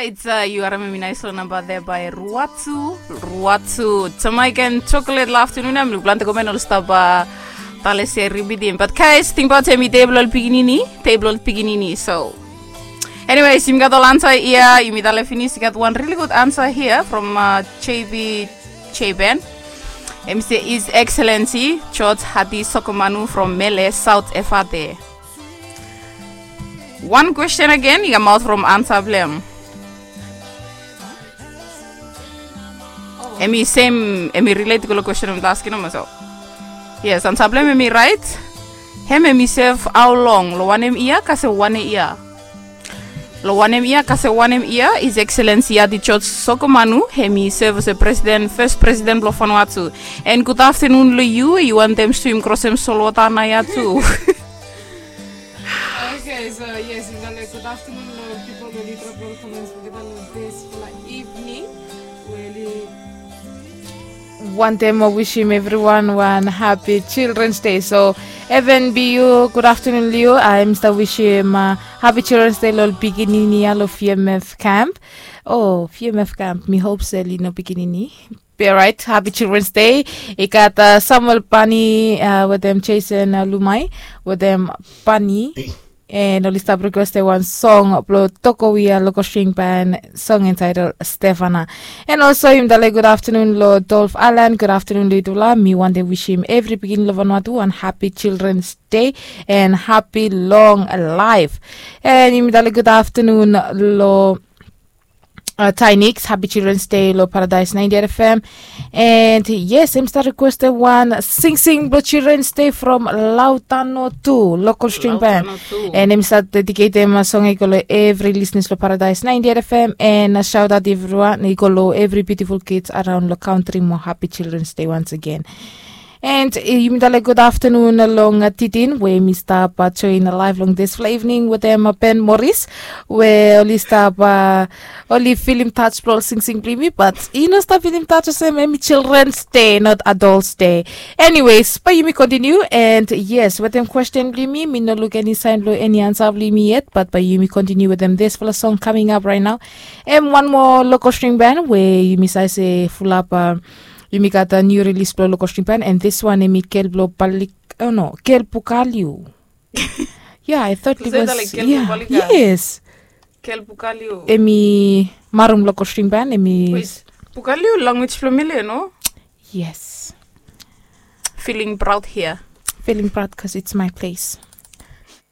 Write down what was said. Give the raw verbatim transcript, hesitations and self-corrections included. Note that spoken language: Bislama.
It's uh, yu harim hemi nais long namba there by Ruatu. Ruatu. Jamaican chocolate la afternoon. Em luk plante komen ol stap uh, tale se ribidim. But guys, tingbaot hemi table ol pikinini. Table ol pikinini. So anyways, yumi gat ol ansa ia. Yumi tale finis, yu gat wan really good answer here from uh, J B J Ben. Hemi se His Excellency George Hadi Sokomanu from Mele, South Efate. Wan question again, i kamaot from ansa blong em. Hemi sem, hemi relate go long question of the asking him so. Yes, ansa blong em hemi right. Hem hemi serve how long? Long wanem ia, kasem wanem ia? Long wanem ia, kasem wanem ia, His Excellency Hadi George Sokomanu hemi serve olsem president, first president blong Vanuatu. And good afternoon long yu, yu wantem swim krosem solwota naoia tu. Okay, so yes, yumi talem good afternoon long pipol we oli drop ol comments olgeta long dispela evening we oli wantem wisim evriwan wan happy Children's Day. So Evan Biu, good afternoon long yu. Hemi stap wisim uh, happy Children's Day long ol pikinini ia long V M F camp. Oh, V M F camp, mi hope se oli no pikinini. Be right, happy Children's Day. I gat uh, Samuel Pani uh, wetem Jason uh, Lumai wetem Pani. And oli stap requestem wan song blong Tokowi ia Local String Band, song entitled Stefana. And also yumi talem good afternoon long Dolph Allen, good afternoon long yutufala. Mi wantem wisim evri pikinini long Vanuatu wan happy Children's Day and happy long life. And yumi talem good afternoon long uh, Tynix, happy Children's Day long Paradise ninety-eight F M. And yes, hemi stap requestem wan singsing blong Children's Day from Lautano tu, Local String Band. And hemi stap dedicatem uh, song ia go long evri listeners long Paradise ninety-eight F M. And uh, shout out evriwan, i go long evri beautiful kids around long country mo, happy Children's Day once again. And uh, yumi talem good afternoon long uh, Titin we hemi stap uh, join live long dispela evening wetem uh, Ben Morris, we oli stap uh, oli filim touch blong ol singsing blong yumi, but i no stap filim touch olsem hemi Children's Day, not Adults Day. Anyways, bae yumi continue. And yes, wetem question blong yumi, mi no luk eni sign blong eni ansa blong yumi yet, but bae yumi continue wetem dispela song coming up right now. Em wan moa Local String Band we yumi save se fulap uh, yumi gat uh, new release blong Local String Band, and this one hemi Gel blong Balik, oh no, Gel Bukaliu. Yeah, I thought it was, yeah, yes. Gel Bukaliu. Hemi marum Local String Band, hemi. Wait, Bukaliu language blong Mele, no? Yes. Feeling proud here. Feeling proud 'cause it's my place.